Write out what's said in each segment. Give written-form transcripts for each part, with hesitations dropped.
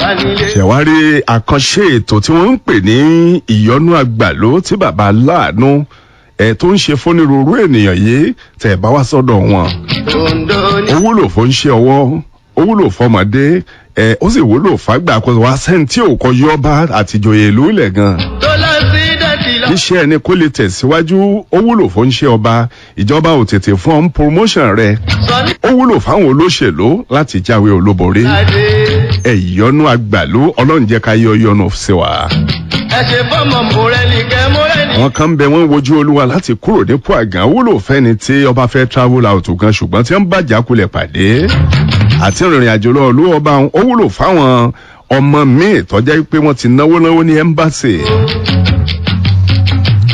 wà nílé. Ṣẹ̀wárí àkànṣe ètò tí wọ́n ń pè ní ìyọnú àgbàló tí bàbá aláàánú ẹ̀ tó ń ṣe fónírúurú ènìyàn yìí tẹ̀ bá wá sọ́dọ̀ wọn. Ondo ní. Ó wúlò fún ṣe ọwọ́, ó wúlò fọmọdé ẹ̀, ó sì wúlò fágbà kó wá sẹ́ńtì òkò yọba àtìjòyè ìlú ilẹ̀ gan. Tó lọ sí dẹ́tì lọ. Iṣẹ́ ẹni kó lè tẹ̀síwájú, ó wúlò fún ṣe ọba, ìjọba ò tètè fún ọ́n promotion rẹ̀. Sọ ní. Ó wúlò fáwọn olóṣèlú láti jáwé olúborí. Adé. Ẹ̀yọ́nú àgbàlú, ọlọ́run jẹ́ ká yọ yọnu sí wa. Ẹ ṣe fọ́mọ mọ̀rẹ́lì kẹ́ mọ́rẹ́lì. Àwọn kan bẹ, wọ́n wojú olúwa láti kúrò nípò àgàn, wúlò fẹ́ni tí ọba fẹ́ travel out gan, ṣùgbọ́n tí wọ́n bàjá kulẹ̀ pàdé àti ìrìnrìn àjò lọ ìlú ọba wọn. Ó wúlò fáwọn ọmọ míì tọ́já pé wọ́n ti náwó náwó ní ẹ́mbáṣì,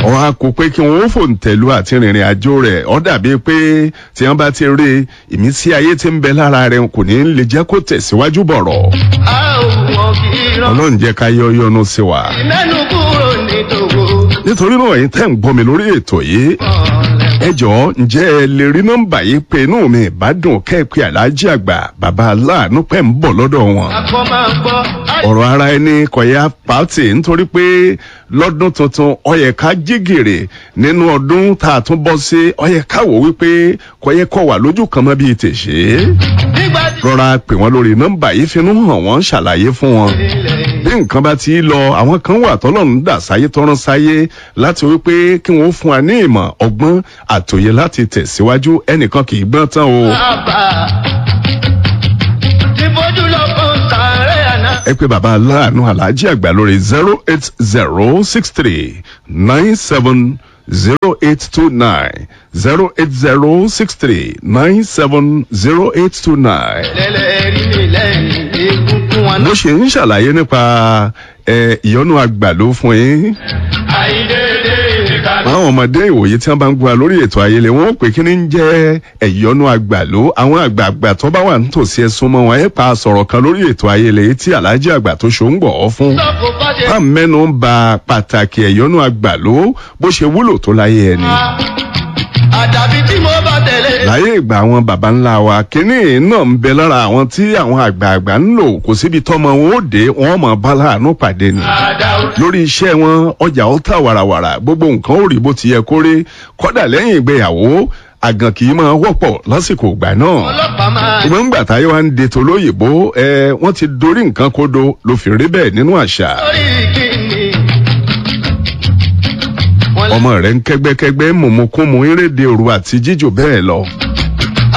wọ́n á kó pé kí wọ́n ó fòǹtẹ̀lú àti ìrìnrìn àjò rẹ̀. Ó dàbí pé tí wọ́n bá ti rí ìmísí ayé tí ń bẹ lára rẹ̀, kò ní lè jẹ́ kó tẹ̀síwájú bọ̀rọ̀. A ò mọ̀ kí irọ́. Ọlọ́run jẹ́ ká yọ yọnu sí wa. Ìmẹ́nu kúrò ní tòwó. Nítorí náà, ẹ̀yin tẹ́ ń gbọ́ mi lórí ètò yìí, ẹ jọ̀ọ́, ǹjẹ́ ẹ lè rí nọ́mbà yìí pé? Inú mi ìbádùn kẹ́ẹ̀pẹ́ aláàjì àgbà bàbá aláàánú pẹ́ ń bọ̀ lọ́dọ̀ wọn. Akọ máa ń gbọ́. Ọ̀rọ̀ ara ẹni kọ̀yà pàtì, nítorí pé lọ́dún tuntun ó yẹ ká jí gìrì nínú ọdún tá a tún bọ́ sí. Ó yẹ ká wò wípé kọ̀yẹ kọ̀ wà lójú kan mọ́ bíi tèṣe. Nígbà tí. Rọra pè wọ́n lórí nọ́mbà yìí, finú hàn wọ́n, ṣàlàyé fún wọn Ilẹ̀. Bí nǹkan bá ti lọ, àwọn kan wà tọ́lọ́run dà sáyé, tọ́rán sáyé láti wípé kí wọ́n fún wa ní ìmọ̀, ọgbọ́n àtòyè láti tẹ̀síwájú. Ẹnìkan kì í gbọ́n tán o. Bàbá. Ti fojú lọ fún sàárẹ̀ àná. Ẹ pé bàbá aláàánú aláàjì àgbà lórí 08063970829, 08063970829. Lẹ́lẹ̀ rí mi lẹ́yìn egungun wọn. Bó ṣe ń ṣàlàyé nípa ìyọnu àgbàló fún yín. Àìdédé ìka. Àwọn ọmọdé ìwòye tí wọn bá ń gbọ́ lórí ètò ayẹlẹ, wọn ó pè kí ni ń jẹ́ ẹ̀yọ́nú àgbàló. Àwọn àgbààgbà tó bá wà nítòsí, ẹ̀sùn mọ́ wọn, ẹ̀ pa sọ̀rọ̀ kan lórí ètò ayẹlẹ yìí tí aláàjì àgbà tó ṣó ń gbọ̀ ọ́ fún. Sọ́kò bá ṣe. Bá mẹ́nu ń ba pàtàkì ẹ̀yọ́nú àgbàló bó ṣe wúlò tó láyé ẹni. Àdàbí tí mo bá tẹ̀lé. Láyé ìgbà àwọn baba ńlá wa, kínní náà ń bẹ lára àwọn tí àwọn àgbààgbà ń lò. Kò síbi tọ́mọ wọn ó dé, wọn mọ̀ bá láàánú pàdé ni Àdàwọ̀. lórí iṣẹ́ wọn, ọjà ó tà wàràwàrà, gbogbo nǹkan ó rí bó ti yẹ kó rí. Kódà lẹ́yìn ìgbéyàwó, àgàn kì í máa wọ́pọ̀ lásìkò ìgbà náà. Ọlọ́pàá máa. Ìgbọ́n ńgbà táyé wa ń de tolóyìnbó ẹ, wọ́n ti dorí nǹkan kodo ló fi rí bẹ́ẹ̀ nínú àṣà. Lórí kíni. Wọ́n lé. Ọmọ rẹ̀ ń kẹ́gbẹ́kẹ́gbẹ́, mùmùkúmu, eréde òru àti jíjò bẹ́ẹ̀ lọ.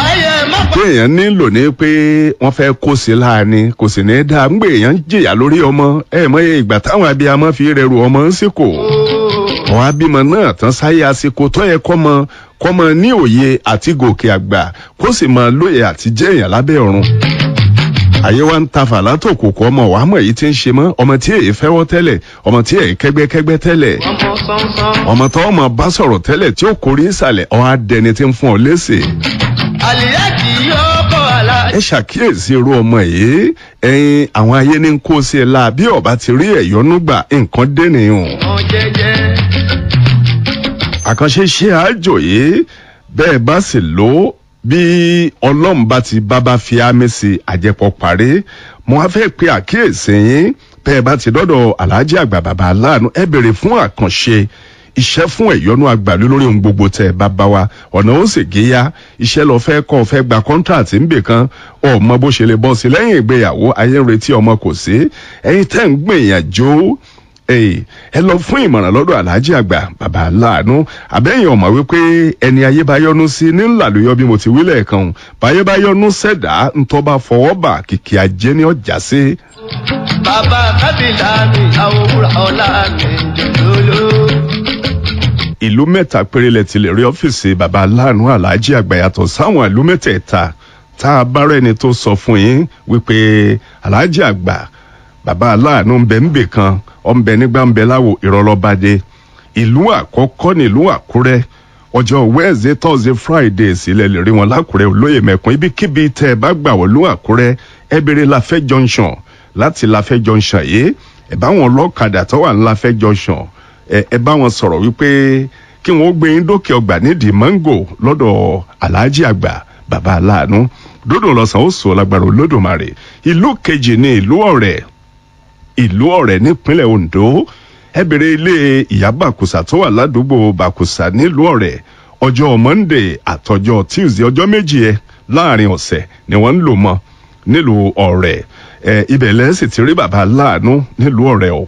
Ayé má pa. Pé èèyàn nílò ní pé wọ́n fẹ́ kó sí láàánú, kò sì ní í dáa ń gbé èèyàn ń jìyà lórí ọmọ ẹ mọ ìgbà táwọn abiyamọ fi rẹrù ọmọ ń sìnkò. Àwọn abímọ náà tán sáyé, àsìkò tó yẹ kọ́mọ kọ́mọ ní òye àti gòkè àgbà, kó sì máa lóye àti jẹ́ èèyàn lábẹ́ ọ̀run. Àyè wa ń ta fàlátò kò kọ́ ọmọ wàá mọ̀ èyí tí ń ṣe mọ́ ọmọ tí èyí fẹ́wọ́ tẹ́lẹ̀, ọmọ tí èyí kẹ́gbẹ́kẹ́gbẹ́ tẹ́lẹ̀, Ọmọ sánsan. ọmọ tó ọmọ bá sọ̀rọ̀ tẹ́lẹ̀ tí ó kórè ìsàlẹ̀, ọ̀ á dẹni tí ń fún ọ léṣe. Àlìyá kì í yọ ọkọ̀ àlá. Ẹ ṣàkíyèsí irú ọmọ yìí, ẹyin àwọn ayé ní kó sí ẹ la. Bí ọba ti rí ẹyọnú gbà, nǹkan dẹ́nìyàn. Ọmọ jẹ́jẹ́. Àkànṣe ṣe àjò yìí, bẹ́ẹ̀ bá sì lò ó, bí ọlọ́run bá ti bábá fi ámì sí, àjẹpọ̀ parí. Mo á fẹ́ pe àkíyèsí yín, bẹ́ẹ̀ bá ti dọ́dọ̀ aláàjì àgbà bàbá aláàánú, ẹ béèrè fún àkànṣe iṣẹ́ fún ẹ̀yọ́nú àgbàlú lórí ohun gbogbo tẹ̀ bàbá wa, ọ̀nà ó sì géyà. Iṣẹ́ lọ fẹ́ kọ́, fẹ́ gba kọ́ńtàtì ńbè kan, ọmọ bó ṣe lè bọ́ sí lẹ́yìn ìgbéyàwó, ayé ń retí ọmọ kò sí, ẹ̀yin tẹ́ ń gbìyànjú, ẹ lọ fún ìmọ̀ràn lọ́dọ̀ aláàjì àgbà bàbá aláàánú. Àbẹ́yìn ọ̀mọ̀ wípé ẹni ayé bá yọ́nú sí ní ńlàlóyọ, bí mo ti wí lẹ́ẹ̀kan, báyé bá yọ́nú sẹ̀dá, ńtọ́ bá fọwọ́ bà, kìkì ajé ní ọjà sí. Bàbá kábìlà mi, àwòrán ọ̀la mi jòló. Ìlú mẹ́ta péré lẹ ti lè rí ọ́fíìsì bàbá aláàánú aláàjì àgbà, yàtọ̀ sáwọn ìlú mẹ́tẹ̀ẹ̀ta tá a bá rẹ́ni tó sọ fún yín wípé aláàjì àgbà bàbá aláàánú ń bẹ ń bè kan, ọ̀ ń bẹ nígbà ń bẹ láwo, ìrọ̀lọ́badé. Ìlú àkọ́kọ́ nílùú Àkúrẹ́. Ọjọ́ Wednesday, Thursday, Friday sílẹ̀ lè rí wọn lákùrẹ́, olóyè mẹ́kún. Ibikíbi tẹ́ ẹ bá gbà wọ́n lú Àkúrẹ́, ẹ béèrè Láfẹ́ Junction. Láti Láfẹ́ Junction yìí, ẹ bá wọn lọ́kadà tó wà ní Láfẹ́ Junction, ẹ bá wọn sọ̀rọ̀ wípé kí wọ́n gbé yín dókè ọgbà nídìí mango lọ́dọ̀ aláàjì àgbà bàbá aláàánú. Dódò lọ́sàn ó sọ lágbára Olódùmarè. Ìlú kejì ní ìlú Ọ̀rẹ́. Ìlú Ọ̀rẹ́ nípínlẹ̀ Ondo. Ẹ bèrè ilé ìyá Bàkùsà tó wà ládùúgbò Bàkùsà nílùú Ọ̀rẹ́. Ọjọ́ Monday àtọjọ́ Tuesday, ọjọ́ 2 ẹ láàrin ọ̀sẹ̀ ni wọ́n ń lò mọ́ nílùú Ọ̀rẹ́. Ẹ ibẹ̀ lẹ́sìn ti rí bàbá láàánú nílùú Ọ̀rẹ́ o.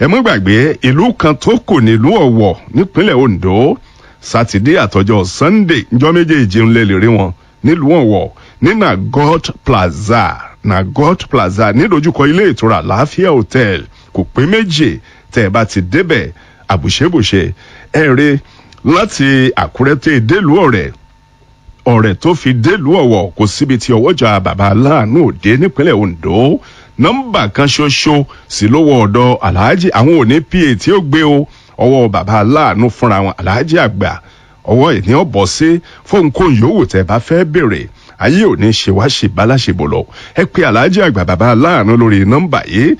Ẹ mọ́ gbàgbé ìlú kan tó kù nílùú Ọ̀wọ̀ nípínlẹ̀ Ondo. Sátidé àtọjọ́ Sunday, njọ́ méjèèjì ń lè lè rí wọn nílùú Ọ̀wọ̀ ní Nagot Plaza. Nagot Plaza nídojúkọ ilé ìtura Àlàáfíà Hotel, kò pé méjì tẹ́ ẹ bá ti débẹ̀ àbùṣebùṣe. Ẹ rí láti Àkúrẹ́ tẹ́ délùú Ọ̀rẹ́, Ọ̀rẹ́ tó fi délùú Ọ̀wọ̀, kò síbi tí ọwọ́jà bàbá aláàánú òde nípínlẹ̀ Ondo. Nọ́mbà kan ṣoṣo sì lówó ọ̀dọ̀ aláàjì. Àwọn òní pa tí ó gbé o, ọwọ́ bàbá aláàánú fúnra wọn, aláàjì àgbà, ọwọ́ ìní ọ̀bọ̀ sí fóun kó yòówù tẹ́ bá fẹ́ béèrè. Ayé òní ṣe wá ṣe báláṣebò lọ. Ẹ pé aláàjì àgbà bàbá aláàánú lórí nọ́mbà yìí: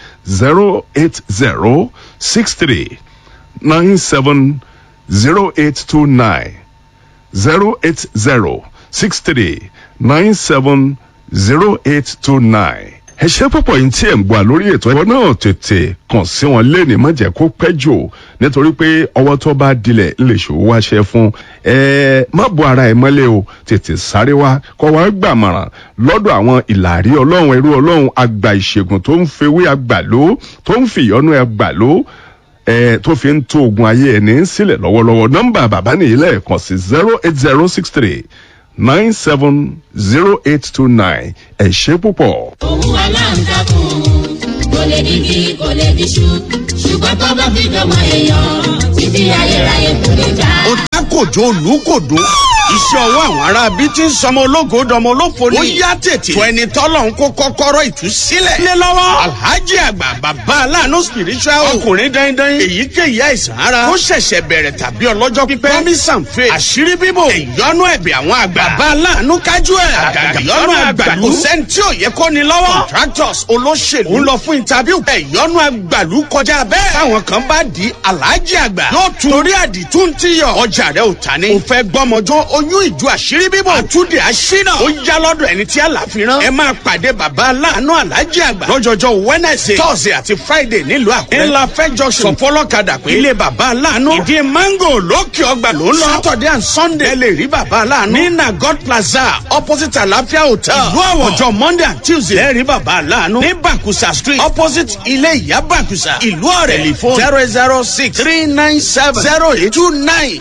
08063970829, 08063970829. Ẹ ṣe púpọ̀ yìí tí ẹ̀ ń gbà lórí ètò ẹ̀kọ́ náà. Tètè kàn sí wọn lẹ́ni, má jẹ́ kó pẹ́ jù, nítorí pé ọwọ́ tó bá dilẹ̀ lè ṣòwò wáṣẹ fún ẹ. Má bo ara ẹ mọ́lẹ̀ o, tètè sáré wá kọ́ wá gbàmọ̀ràn lọ́dọ̀ àwọn ìlàrí ọlọ́run, ẹrú ọlọ́run, àgbà ìṣègùn tó ń fewé àgbàló, tó ń fìyọ́nú àgbàló ẹ, tó fi ń tó ogun ayé ẹni sílẹ̀ lọ́wọ́lọ́wọ́. Nọ́mbà bàbá nìyí lẹ́ẹ̀kan sí: 08063970829. Ẹ ṣé púpọ̀. Òun aláǹtakùn kò lè digi, kò lè diṣu, ṣùgbọ́n tó bá fi dọ́mọ èèyàn, títí ayérayé kò lè já. Ó dákòjó olùkòdó, iṣẹ́ ọwọ́ àwọn ará bíi ti ń sọmọ ológo dọmọ olófo ni. Ó yá tètè tó ẹni tọ́lọ̀ ń kó kọ́kọ́rọ́ ìtúsílẹ̀. Lé lọ́wọ́ Alhaji àgbà bàbá aláàánú spiritual, ọkùnrin dandan. Èyíkéyìí àìsàn ara ó ṣẹ̀ṣẹ̀ bẹ̀rẹ̀ tàbí ọlọ́jọ́ pípẹ́, promise and faith, àṣírí bíbò, ìyọnu ẹ̀bẹ̀ àwọn àgbà, bàbá aláàánú kájú ẹ̀, àgàgà ìyọnu àgbàlú, kò sẹ́ni tí ò yẹ kó ni lọ́wọ́. Contractors, olóṣèlú ń lọ fún interview, ìyọnu àgbàlú kọjá bẹ́ẹ̀. Táwọn kan bá di Alhaji àgbà yóò tún torí àdìtú ń tíyọ̀, ọjà rẹ̀ ò ta ni. Ò fẹ́ gbọ́mọjọ́, oyún ìjọ, àṣírí bíbò, àtúndì àṣínà, ó yá lọ́dọ̀ ẹni tí àlàfíran. Ẹ máa pàdé bàbá aláàánú aláàjì àgbà lọ́jọ́jọ́ Wednesday, Thursday àti Friday nílùú Àkúrẹ́, ńlá fẹ́ junction. Sọfọlọ́kadà pé ilé bàbá aláàánú, ìdí mango, lókè ọgbà ló ń lọ. Saturday and Sunday, ẹ lè rí bàbá aláàánú ní Nagot Plaza, opposite Àlàáfíà Hotel, ìlú Àwọ̀. Ọjọ́ Monday and Tuesday, ẹ rí bàbá aláàánú ní Bàkùsà Street, opposite ilé ìyá Bàkùsà, ìlú Ọ̀rẹ́. Telephone: 006 397 0829.